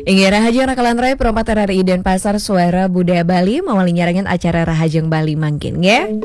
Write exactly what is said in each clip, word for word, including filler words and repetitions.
Inggih, rahajeng Raka lan Rai, Pro empat R R I Denpasar, Suara Budaya Bali, mawali nyarengin acara Rahajeng Bali mangkin, nggih.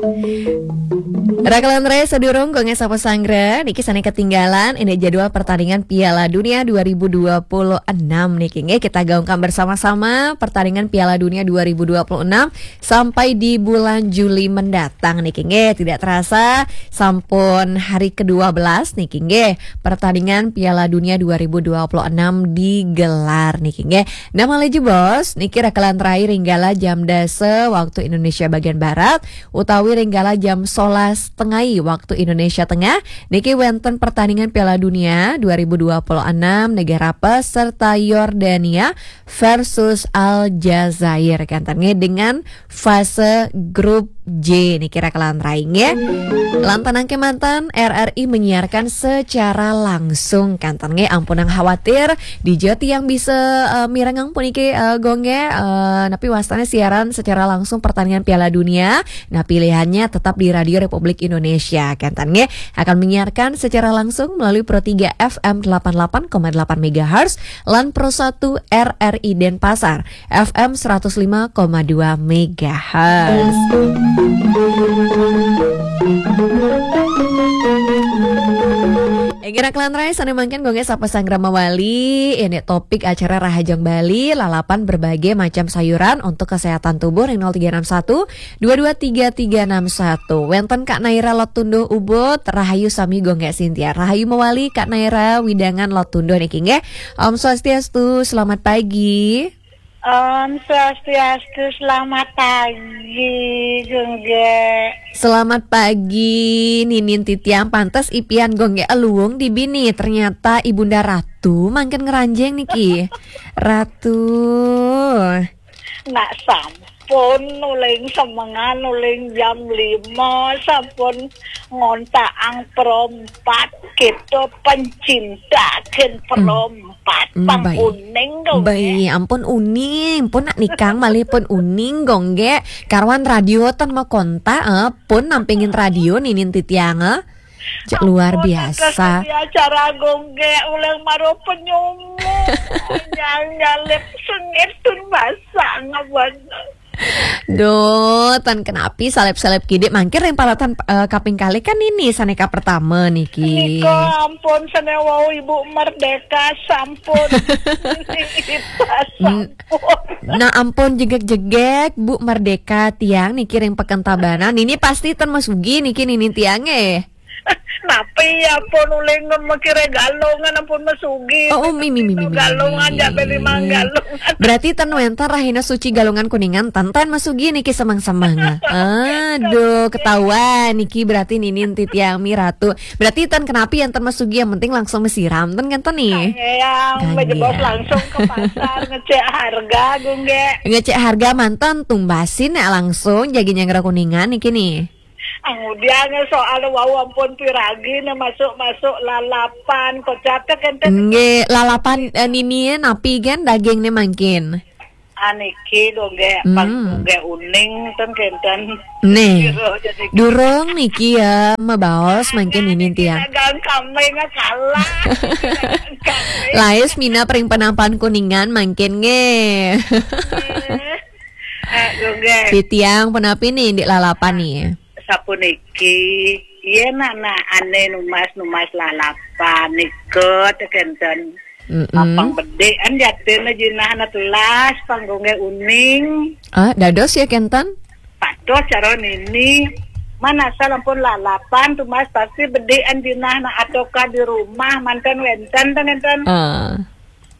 Raka lan Rai, sadurung Gung Esa Pasanggra, niki sane ketinggalan, ini jadwal pertandingan Piala Dunia dua ribu dua puluh enam niki, nggih. Kita gaungkan bersama-sama pertandingan Piala Dunia dua ribu dua puluh enam sampai di bulan Juli mendatang niki, nggih. Tidak terasa, sampun hari kedua belas niki, nggih. Pertandingan Piala Dunia dua ribu dua puluh enam digelar niki, nggih. Nah, malih jebos niki Raka lan Rai, ring gala jam dasa waktu Indonesia bagian Barat, utawi ring gala jam solas tengai waktu Indonesia Tengah, niki wenten pertandingan Piala Dunia dua ribu dua puluh enam negara peserta Yordania versus Aljazair, kenten nggih, dengan fase grup J niki, Raka lan Rai, nggih. Lan tenang kemanten, R R I menyiarkan secara langsung, kenten nggih, ampunang khawatir, dija tiang bisa, eh, mirengang puniki, eh, Gung, nggih, eh, napi wastane siaran secara langsung pertandingan Piala Dunia. Nah, pilihannya tetap di Radio Republik Indonesia, kenten nggih, akan menyiarkan secara langsung melalui Pro tiga F M delapan delapan koma delapan megahertz lan Pro satu R R I Denpasar F M seratus lima koma dua megahertz. Inggih, Raka lan Rai, sane mangkin Gung Esa Pasanggra mawali, ini topik acara Rahajeng Bali, lalapan berbagai macam sayuran untuk kesehatan tubuh ring nol tiga enam satu dua dua tiga tiga enam satu. Wenten Kak Naira Lot Tunduh Ubud, rahayu sami Gung Sintia. Rahayu mawali Kak Naira, wewidangan Lot Tunduh niki, nggih. Om Swastiastu, selamat pagi. Om Swastiastu, selamat pagi, Gung. Selamat pagi, Ninin titiang, pantes ipian Gung aluung di bini. Ternyata Ibunda Ratu mangkin ngranjing niki. Ratu. Nak sampun uling semengan, uling jam lima, sampun ngontakang Pro empat, kita pencinta gen Pro empat, Mm, pang baik. Uning dong, baik, ya. Ampun uning, pun nak nikang malih pun uning, Gung, nggih. Karwan radio ten makontak, eh, pun nampingin radio ninin titiang, eh. Cek luar biasa. Ampun, di acara Gung, nggih, uling maro penyumu. Yang nyalip sengit tun basang, ampun. Duh, ten kenapi salep-salep kidik mangkir ring palatan, eh, kaping kalih kan ini sane kapertama niki. Nika ampun sane wau Ibu Merdeka sampun. Kita N-, sampun. Nah, ampun jegeg-jegeg Bu Merdeka tiang niki ring Peken Tabanan. Nini pasti ten masugi niki nini tiang, eh. Tapi ampun uling mikire galungan ampun masugi. Oh, oh, mi, mi, mi, mi, mi, galungan, mi. Jabe limang galungan. Berarti ten wenten rahina suci galungan Kuningan, ten, ten masugi niki semeng-semeng. Aduh, ketahuan niki berarti ninin titiang mi Ratu. Berarti ten kenapi yang ten masugi, yang penting langsung masiram, ten kan ten nih. Yang Kang, bejebos ya. Langsung ke pasar ngecek harga, Gung, nggih. Ngecek harga manten tumbasin ya langsung jagi nyanggra Kuningan niki nih. Angudian soal wau ampun piragi ne masuk-masuk lalapan kocap te kenten. Nggih, lalapan, eh, nini napi gen daging ne mangkin? Aniki dongge, hmm, pang dongge uning ten kenten. Nih. Kira jadi durung niki ya, mabaos mangkin nini tiang. Dagang kambing kalah. Dagang kambing. Lais mina pring penampan Kuningan mangkin nggih. Nggih. Eh, dongge. Titiang punapi nih di lalapan nih? Sapuniki, yen anak ane numas-numas lalapan nika te kenten. Mm-mm. Apang bedik an jatine jinah anak telas pang dongge uning. Ah, dados ya kenten? Pados cara nini. Man asal ampun lalapan tumas pasti bedik an jinah anak atoka di rumah manten wenten te kenten. Ah.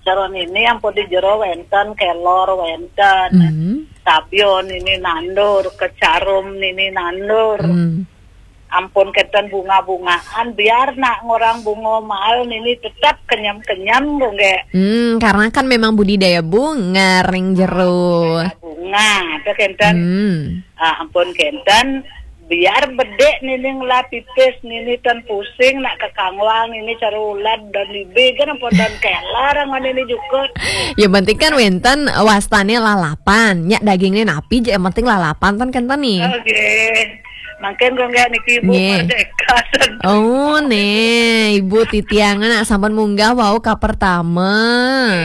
Cara nini ampun di jero wenten, kelor wenten. Mm. Tabion nini nandur, kecarum nini nandur. Mm. Ampun kenten bunga-bungaan, biar nak ngorang bunga mahal nini tetap kenyam-kenyam, dongge. Hmm, karena kan memang budidaya bunga ring jero. Bunga, te kenten. Hmm. Ah, ampun kenten, biar bedik nini ngelah pipis nini ten pusing, nak kekangwang nini cara ulad dan libe kan ampun dan kelar angon nini jukut. Yang penting kan wenten wastane lalapan, nyak dagingnya napi je, yang penting lalapan ten kenten nih. Oke. Mangkin kok nggih niki Ibu Nggih. Merdeka. Oh, nih, Ibu titiang nak sampun munggah wau ka pertama.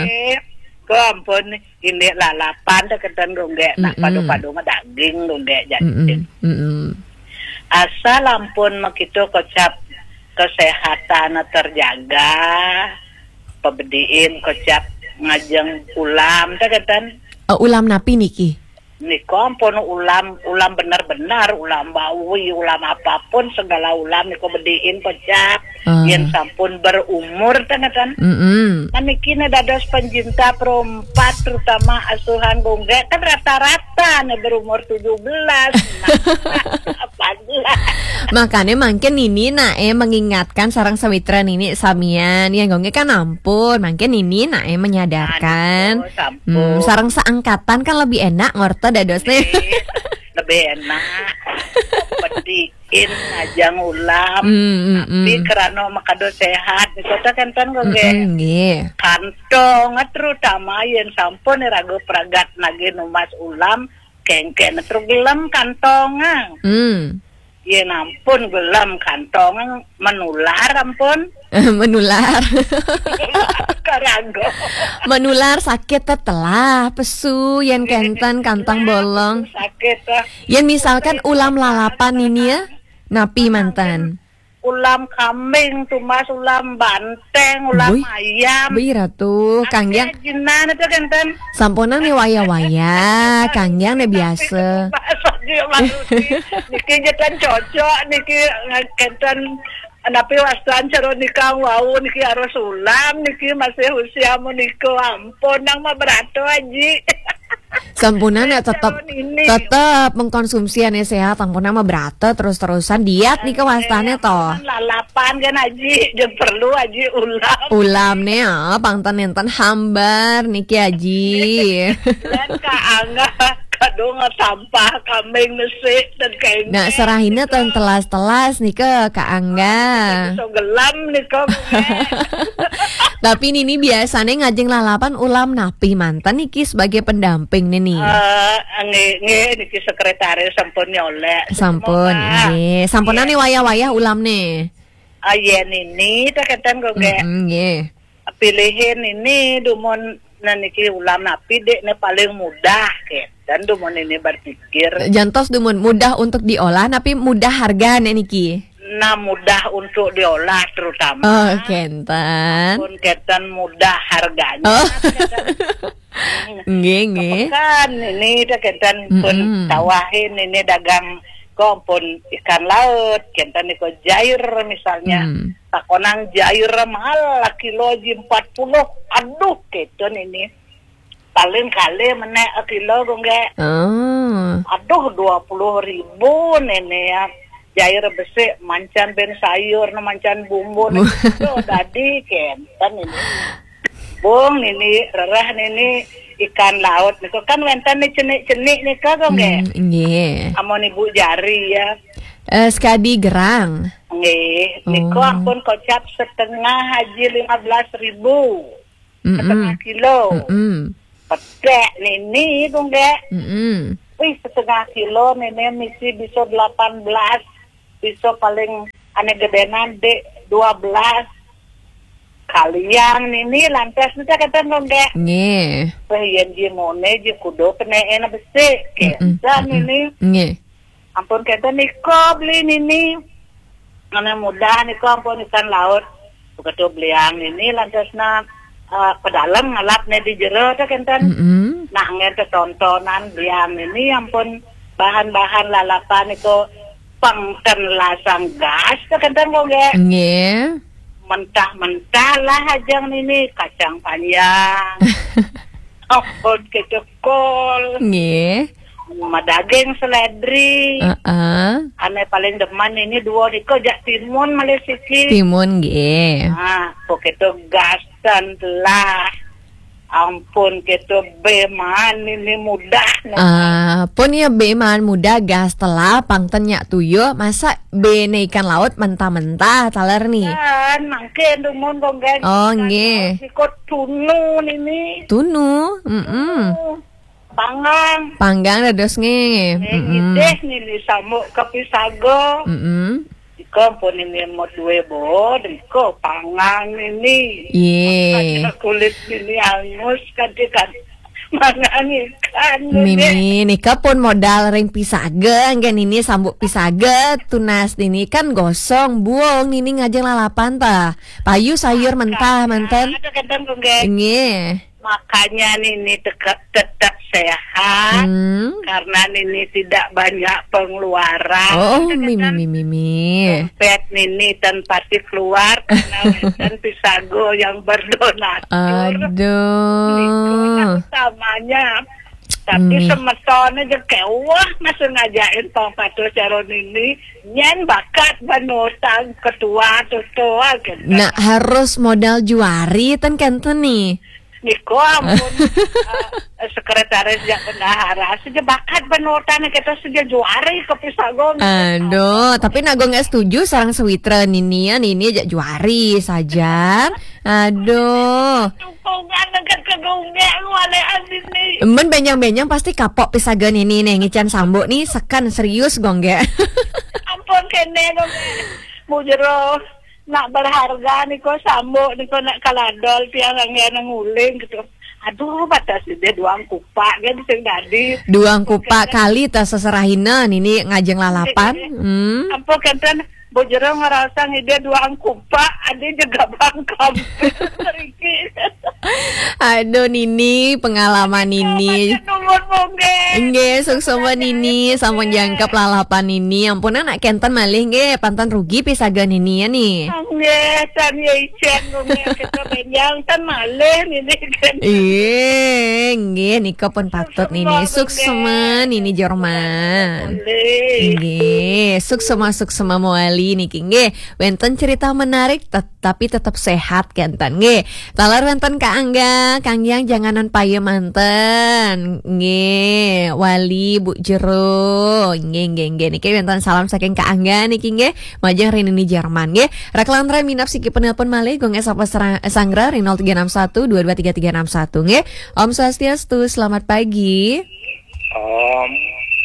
Nggih. Kok ampun, indik lalapan teh kenten kok nggih, nak Mm-mm. Padu-padu mah daging kok nggih, jadi. Mm-mm. Mm-mm. Asal ampun makitu kocap kesehatan terjaga, pebediin kocap ngajeng ulam teh kenten. Eh, ulam napi niki? Nika ampun ulam, ulam bener-bener, ulam bawi, ulam apapun, segala ulam nika bediin kocap. Ah. Yen sampun berumur teh ngeten. Mm-mm. Nah, niki ne dados pencinta perumpat, terutama asuhan kok nggih, kan rata-rata ne berumur tujuh belas, nah, delapan belas. Makanya mungkin ini nak eh mengingatkan sareng sawitra nini samian ya kok nggih kan ampun, mungkin ini nak eh menyadarkan. Aduh, sampun. Hmm, sareng seangkatan kan lebih enak ngorta dadosnya. Lebih, lebih enak. Pediin ngajeng ulam. Hmm, hmm, tapi hmm. Kerana makado sehat, nika teh kenten kok nggih. Mm-mm, nggih. Kantong, terutama yen sampun raga pragat nagih numbas ulam, kengken terus gelem kantong. Hmm. Yen ampun gelem kantong menular ampun. Menular. Karago. Menular sakit tetelah, pesu, yen kenten kantong bolong. Sakit lah. Yen misalkan ulam lalapan ini ya, napi manten? Ulam kambing, tumbas ulam banteng, ulam Bui. Ayam. Bui ratu, Akeh kanggiang. Jinan itu kenten. Sampunang nih waya-waya, kanggiang nih biasa. Bahasa dia manusia. Niki kenten cocok, niki kenten napi wastan cara nikang wau, niki harus ulam, niki masih usia menika ampun, nang mah berato aji. Sampunang nek tetep, tetep mengkonsumsi ane sehat, sampunang mah berata terus-terusan diet nih kewastane toh. Lalapan kan aji, jeung perlu aji ulam. Ulam nih, ah, pangten nenten hambar niki aji. Dan Kak Angga, kadung sampah kambing nesik dan kain. Nah, serahina ten telas-telas nih ke Kak Angga. So gelam nih kok. Tapi nini biasanya ngajeng lalapan ulam napi manten niki sebagai pendamping nini. Eh, nggih, nggih, niki sekretaris sampun nyolek. Sampun, nggih. Sampunang nih wayah-wayah ulam nih. Ah, yen nini, tak kenten kok, nggih. Mm-mm, nggih. Pilihin nini, dumun, nah, niki ulam napi, dek, ne paling mudah, kenten dumun nini berpikir. Jantos dumun mudah untuk diolah, tapi mudah harga, nek niki. Nah, mudah untuk diolah terutama. Oh, kenten. Pun kenten mudah harganya. Oh. Kenten. Nggih, nggih. Pekan ini teh kenten pun Mm-mm. Tawahin ini dagang kok pun ikan laut, kenten iko jair misalnya. Hmm. Takonang jair mahal lah kilo ji empat puluh. Aduh, kenten ini. Paling kali menek kilo kok nggih. Oh. Aduh, dua puluh ribu nene ya. Jair besik mancan ben sayur, mancan bumbu, Bu- nene. Aduh, dadi kenten ini. Bung nini, rereh nini, ikan laut niku kan wenten ni cenik-cenik nika kok nggih. Hmm, nggih. Amun ibu jari ya. Eh, sekadi gerang. Nggih, niku Oh. Ampun kocap setengah aji lima belas ribu. Mm-mm. Setengah kilo. Mm-mm. Petek nini kok nggih. Mm-mm. Wih, setengah kilo nini misi bisa delapan belas, bisa paling ane gedenan dek dua belas. Kaliang nini lantas nita kenten kok nggih. Nggih. Wih, yen ji mone ji kudo peneen besik. Mm-mm. Kenten Mm-mm. Nini. Nggih. Ampun kenten niko beli nini. Mana mudah niko ampun ikan laut. Begitu beliang nini lantasna, eh, pedalem ngalap ne di jero teh kenten. Mm-mm. Nah, ngen tetontonan beliang nini ampun bahan-bahan lalapan niko pangten lasang gas teh kenten kok nggih. Nggih. Mentah-mentah lah ajang nini kacang panjang. Ampun kecekol. Nggih. Madaging seledri. Heeh. Ane paling demen ini dua niko jak timun malih siki. Timun nggih. Ah, kok itu gas dan telah. Ampun, kita beman ini mudah. Ah, pun ya beman mudah gas telah pangten nyak tuyuh, masa bene ikan laut mentah-mentah taler nih. Kan, mangkin dumun kok nggih. Oh, ikan nggih. Laut, sikut tunu nini. Tunu, mm-mm. Tunu. Panggang. Panggang dados nggih. Nggih, mm-mm. Nggih, nini sambuk kepisaga. Mm-mm. Ika pun nini modue bod, ika panggang nini. Yeh. Makanya kulit nini angus, kadhi kan mangan ikan nini. Mimi, nika pun modal ring pisaga, nggih nini sambuk pisaga, tunas nini kan gosong, buung nini ngajeng lalapan ta. Payu sayur mentah, manten. Ada kadang, nggih. Nggih. Makanya nini teka-, tetap sehat, hmm, karena nini tidak banyak pengeluaran. Oh, mimi, mimi, mimi. Dompet nini tan pati keluar karena wenten pisago yang berdonatur. Aduh. Niku utamanya. Tapi hmm, semetone je kewah masih ngajakin pang patuh cara nini. Nyen bakat ban utang ketua tutua gitu. Nah, harus modal juari ten kenten nih. Niko ampun, eh, sekretaris jak bendahara, saja bakat penurutan kita saja juari ke Pisagong. Aduh, tapi Nagong nggak setuju sareng sewitra nini ya, nini jak juari saja. Aduh. Dukungan dekat ke Gongge, lu aneh aneh nih. Men benyang-benyang pasti kapok pisaga nini nih, ngican sambuk nih, sekan serius Gongge. Ampun kene Gongge. Bujero. Nak berharga niko sambuk niko nak kaladol tiang angge nang uling gitu. Aduh, batas dia duang kupak kan sing dadi. Duang kupak kali tas seserahina nini ngajeng lalapan. Hmm. Apa kenten bojero ngerasa ngide duang kupak, ade juga bangkam. Seriki. Aduh, Nini, pengalaman Nini. Nuwun, Nggih, suksma Nini, sampun jangkep lalapan Nini. Ampun, anak kenten malih nggih, panten rugi pisaga Nini ya nih. Nggih, tan ya icen, nggih, kita benjang, tan malih Nini, kan. Iya, nggih, nika pun patut Nini. Suksma, Nini Jorman. Nggih, suksma, suksma mawali niki nggih. Wenten cerita menarik, tet-, tapi tetap sehat kenten nggih. Taler wenten Kak Angga, Kang Yang janganan paye manten. Nggih, Wali, Bu Jero. Nggih, nggih, nggih. Niki wenten salam saking Kak Angga niki nggih. Majeng ring Nini Jerman nggih. Raklantra minab siki penelpon malih, Gong S apa serang-, sanggra ring nol tiga enam satu dua dua tiga tiga enam satu nggih. Om Swastiastu, selamat pagi. Om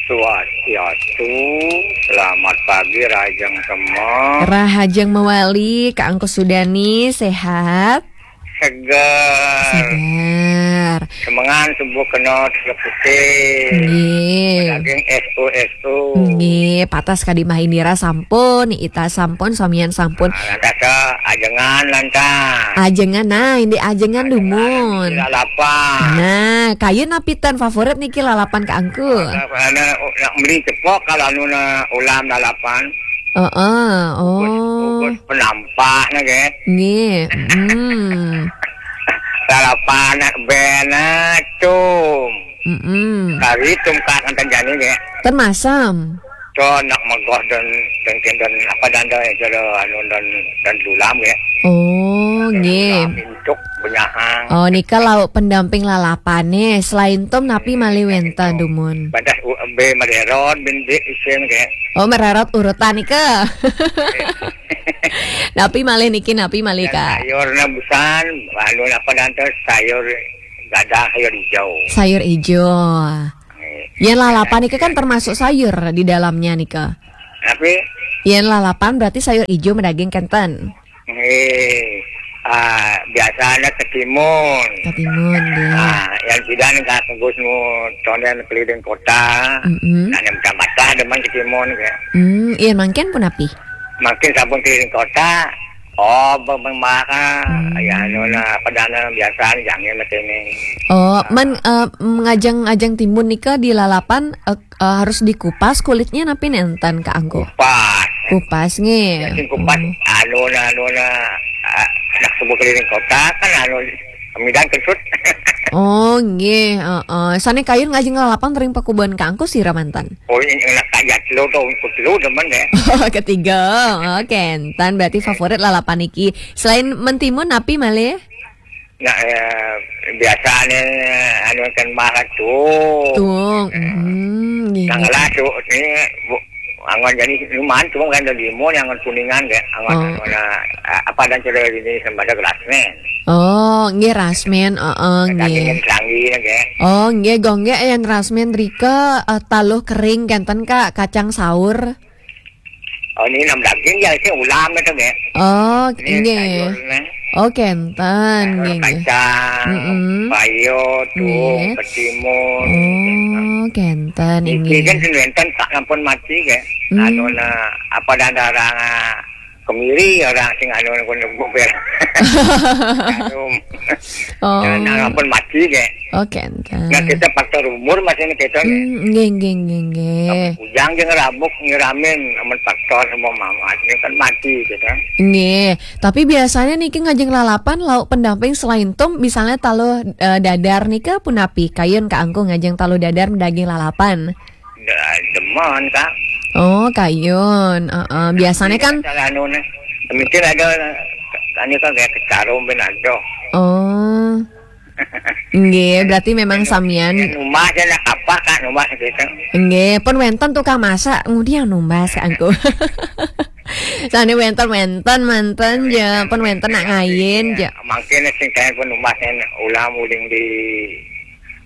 Swastiastu, selamat pagi, Rahajeng Sema. Rahajeng mawali, Kak Angku Sudani, sehat? Seger. Seger. Semengan subuh kena teleputih. Nggih. Daging S O S O. Nggih, patas kadi Mahindira sampun, Ita sampun, samian sampun. Nah, lantas, ajengan, lantas. Ajengan, nah, ini ajengan dumun. Lalapan. Nah, kayun napi ten favorit niki lalapan Kak Angku? Nak, nak, nak beli cepok kalau anu na ulam lalapan. Heeh, oh. Ugus, ugus penampah na, nggih. Nggih, mm. Lalapan nak bena tum. Mm-mm. Kari tum kak antan jani, nggih. Ten masam. To nak megoh dan, dan, dan apa dan, dan, dan, anu dan, dan dulam, nggih. Oh, nggih. Dulam, intuk, benyahang. Oh, nika lauk pendamping lalapane. Selain tum napi malih wenten dumun? Badas u-, be mererot, bin di isin, nggih. Oh, mererot urutan nika. Napi malih niki, napi malih, Kak? Sayur na busan, anu apa dan tu, sayur gadang, sayur hijau. Sayur hijau. Nggih. Yen lalapan nika kan termasuk sayur di dalamnya nika. Tapi yen lalapan berarti sayur hijau madaging kenten. Nggih. Ah, biasanya ketimun. Ketimun, nggih. Ah, yang tidak nih Kak Gus nu tonden keliling kota. Mm-mm. Nah, yang macam demen ketimun, nggih. Hmm, iya mangkin pun api? Mangkin sampun keliling kota. Oh, beng-, beng-, maka, hmm. Ya, anu, nah, padana biasa, jangan mesti ini. Oh, ah. Men, eh, ngajeng-ngajeng timun nika di lalapan, eh, eh, harus dikupas kulitnya napi nenten, Kak Angku? Kupas. Kupas, nggih. Ya, sing kupas, oh. Anu, nah, anu, nah, ah, anak sebuah keliling kota, kan, anu, kemidan kentut. Oh, nggih, heeh. Sane kayun ngajeng lalapan ring pakuban Kak Angku sira manten? Oh, ini enak aja, telu tuh, ikut telu demen ya. Oh, ketiga. Oke, entan berarti favorit lalapan iki. Selain mentimun, napi malih? Nah, eh, biasanya anu kan makan tuh. Tuh, hmm, nggih. Nah, nggih. Lah, tuh, ini, Bu, Anggon jadi lumayan cuma kan dari mau yang Anggon Kuningan kayak Anggon Oh. Anggon, eh, apa dan sudah ini sembada gelasmen. Oh, nggih rasmen, heeh nggih. Dagingin selanggi kayak. Oh, nggih gong nggih yang rasmen rika eh, taluh kering kenten Kak, kacang saur. Oh ini enam daging ya sih ulam itu kayak. Oh, Ini nggih. Sayur nih. Oh, kenten Sayur nggih nggih. kacang, Mm-mm. payo, tuh, Nggih. ketimun. Oh, kenten Iki nggih. Kan sing wenten tak ampun mati kayak. Hmm. Anu nah apa dan orang ah, kemiri orang sing anu pun bubel. Aduh. Oh. Nah, ampun mati kayak. Oh, kenten. Nah kita faktor umur masih ini kita kayak. Hmm, nggih nggih nggih nggih. Ujang jeung rabuk nyiramin amun faktor semua mamat ini kan mati gitu. Nggih, tapi biasanya niki ngajeng lalapan lauk pendamping selain tum misalnya taluh eh, dadar nika punapi kayun Kak Angku ngajeng taluh dadar daging lalapan. Demen kak. Oh, kayun. Heeh, biasanya kan Salah anu nih. Mikir ada anu kan kayak kecarum ben ada. Oh. Nggih, berarti memang samian. Numbas ya nak apa kak numbas gitu. Nggih, pun wenten tukang masak, ngudiang numbas Kak Angku. Sane wenten-wenten manten ya, pun wenten nak ngayin ya. Mungkin sing kayak pun numbas yang ulam uling di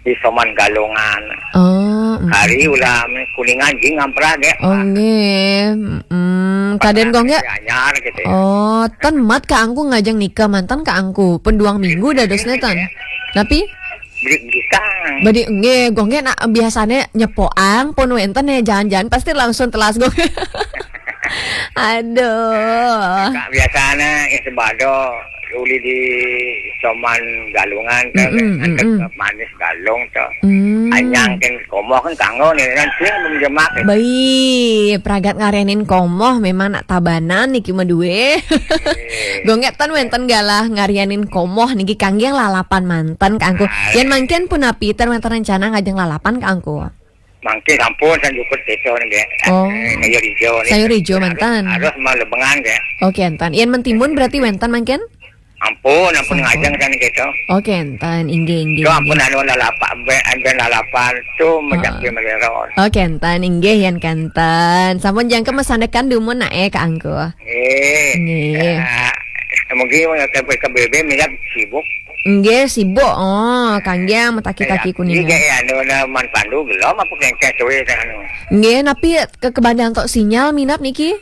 di Soman Galungan. Oh, mm. Hari ulam Kuningan jing ngamprah deh. Oh, nggih. Mm, kaden kok nggak? Anyar gitu ya. Oh, ten mat Kak Angku ngajeng nika mantan Kak Angku. Pun duang minggu dadosnya tan. Tapi Beli gitang. Badi nggih, gong nggih nak biasanya nyepoang pun wenten ya jangan-jangan pasti langsung telas gong. Aduh. Kak biasanya itu bado uli di Soman Galungan tuh Mm-mm, kan mm-mm. Manis Galung tuh. Hmm. Anyang kan komoh kan kanggo nih kan sing belum jemak. Baik, pragat ngarianin komoh memang nak tabanan niki mah duwe. Gong nggih ten wenten galah ngarianin komoh niki kangge lalapan manten Kak Angku. Yen mangkin punapi ten wenten rencana ngajeng lalapan Kak Angku. Mangke sampun san jukut desa nih. Oh. Eh, Sayur hijau nih. Sayur hijau mantan. Harus mau lebengan kayak. Oke, entan. Yen mentimun berarti wenten mangkin? Ampun, ampun Sampun. Ngajeng kan gitu. Oke, entan. Inggih, inggih. Itu ampun Inggih. Anu lalapak ben ben lalapan tuh mejak Ah. di Meleron. Oke, entan. Inggih, yen kenten. Sampun jangke mesandekan dumun nak eh Kak Angku. Eh. Nggih. Eh, mungkin ke ke B B minyak sibuk. Nggih, sibuk. Oh, kangge metaki-taki Iya, Kuningan. Iya, anu udah man pandu belum apa kengkes tuh ya anu. Nggih, napi ke kebandan tok sinyal minap niki? Eh.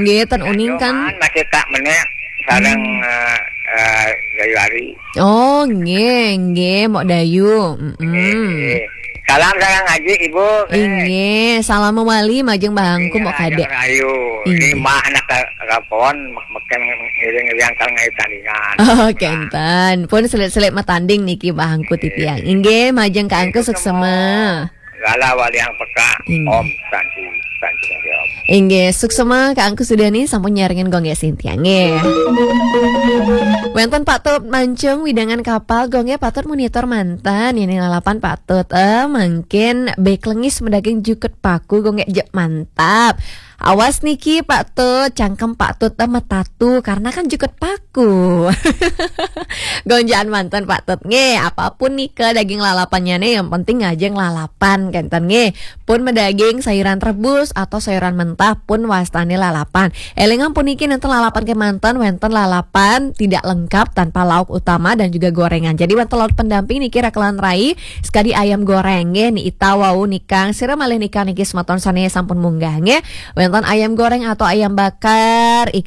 Nggih, ten uning kan. Cuman masih tak menek sarang eh eh, Gayuari. Oh, nggih, nggih, Mok Dayu. Mm-mm. Eh, Salam sarang ngaji ibu. Eh. Inggih, salam mewali majeng bahangku Mok Kadek. Ayu. Inggih. Ini mah anak rapon meken ngiring-ngiring kal ngai tandingan. Oh, kenten. Pun selit-selit matanding niki bahangku titiang. Inggih, majeng Kak Angku suksema. Gala wali yang peka. Inggih. Om Santi, Santi Santi Om. Inggih, suksema Kak Angku Sudani sampun nyarengin gong ya Sintia nggih. Wenten patut mancung widangan kapal gong ya patut monitor mantan ini lalapan patut eh mangkin beklengis medaging jukut paku gong ya jek mantap. Awas niki patut cangkem patut eh metatu karena kan jukut paku. Gonjaan mantan patut nggih apapun nika daging lalapannya nih yang penting ngajeng lalapan kenten nggih. Pun medaging sayuran rebus atau sayuran mentah pun wastane lalapan. Elingan puniki nenten lalapan kemanten wenten lalapan tidak lengkap tanpa lauk utama dan juga gorengan. Jadi wenten lauk pendamping niki rakelan rai sekadi ayam goreng nggih ni ita wau nikang sira malih nikang niki semeton sane sampun munggah nggih. Wenten ayam goreng atau ayam bakar,